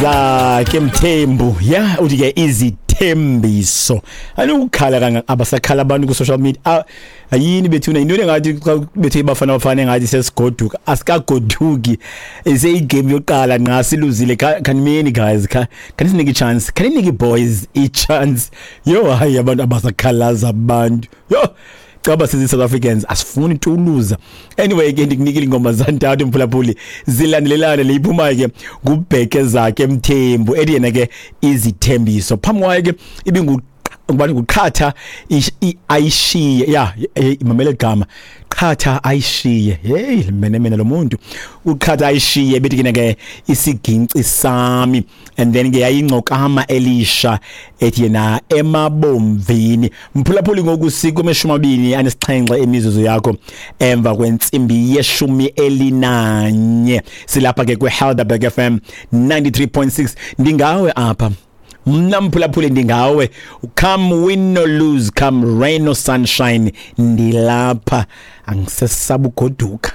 Zakhe Mthembu ya uthi ke izithembiso anukukhala kanga abasakhala abantu ku social media. Ayini bethuna into engathi xa bethe bafana bafana engathi sesigoduka, asikagoduki, iseyigame yokuqala nqa siluzile. Khanimeni guys, khanisinike ichance, khaninike boys ichance. Yo hayi, abantu abasakhalaza abantu, yo caba sizi South Africans asifuni tu uluza. Anyway ke ndikunikile ingoma zantathu mphulaphuli zilandelelane. Leyiphumayo ke ngubheke Zakhe Mthembu ethi yena ke izithembiso. Phambi kwayo ke ibingu ngubani? Nguqhatha ayishiye ya, imamele igama qhatha ayishiye. Hey mene mene lo muntu uqhatha ayishiye bethi ke ke isiginci sami, and then ke yayingcokama elisha ethi yena emabomvini. Mphulaphuli, ngoku sikwemeshumi amabini anesixhenxe emizuzu yakho emva kwentsimbi yeshumi elinanye. Silapha ke kwi-Helderberg FM 93.6. Ndingawe apha mna mphulaphuli, ndingawe. Come win or lose, come rain or sunshine, ndilapha. Angisesaba ugoduka,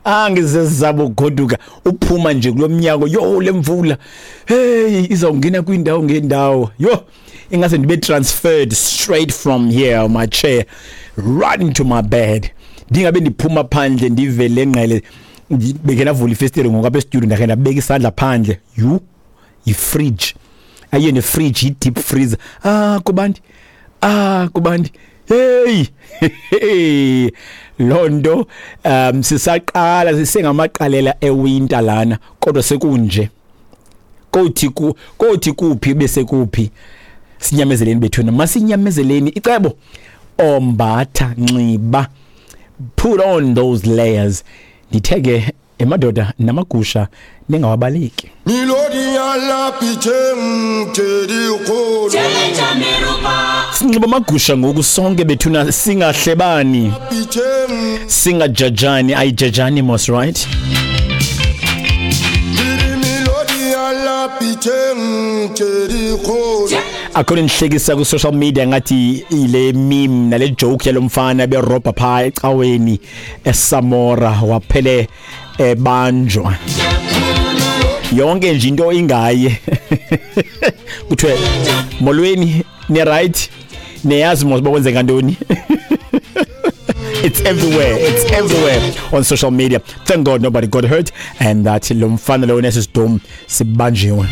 angisesaba ugoduka. Uphuma nje kulomnyaka, yo lemvula, hey, izawungena kwindawo ngendawo. Yo ingase ndibe transferred straight from here on my chair right into my bed. Ndingabe ndiphuma phandle ndivele ngqele, beke navula ifestile ngoku apha estudio, ndakhe ndabeka isandla phandle, yu yifridge, ayiyo nefridge, yi-deep freezer. Ah kubandi, ah kubandi, hey hey, loo nto sisaqala sisengamaqalela ewinter lana, kodwa sekunje. Kothi ku kothi kuphi bese kuphi. Sinyamezeleni bethuna, masinyamezeleni. Icebo ombatha, nxiba, put on those layers. Ndithe ke emadoda namagusha ningawabaleki. Sinxiba amagusha ngoku sonke bethuna, singahlebani, singajajani. Ayijajani mos, right? Akho nihlekisa ku social media ngathi ile meme nale joke yalomfana berobha pha ecaweni eSamora waphele ebanjwa. Yonke nje into ingaye. Kuthiwe molweni, ni right, niyazi mos bakwenzeka ntoni. It's everywhere, it's everywhere on social media. Thank God nobody got hurt and that lo mfana lo nesisidom sibanjiwe.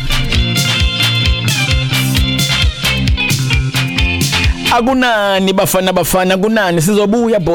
Akunani bafana bafana, kunani sizobuya boy.